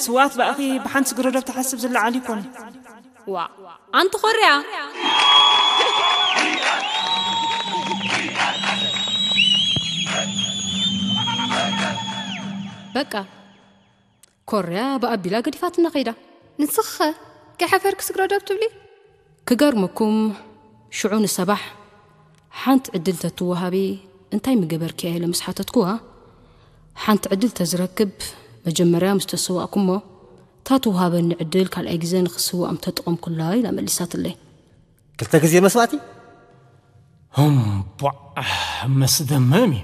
ስዋት ብኣኺ ብሓንቲ ስግረዶብ ተሓስብ ዝለዓል ይኮን። ዋ ኣንቲ ኮርያ በቃ ኮርያ ብኣቢላ ገዲፋትና ከይዳ። ንስኸ ከይሓፈርክ ስግረዶብ ትብሊ? ክገርመኩም ሽዑ ንሰባሕ ሓንቲ ዕድል ተትወሃቢ እንታይ ምገበርክያ ኢለ ምስ ሓተትኩዋ፣ ሓንቲ ዕድል ተዝረክብ መጀመርያ ምስ ተሰዋእኩሞ፣ እታ ትወሃበኒ ዕድል ካልኣይ ግዜ ንክስዋእ ምተጠቐምኩላ ኢላ መሊሳትለይ። ክልተ ግዜ መስዋእቲ? እምቧዕ፣ መስደመም እዩ።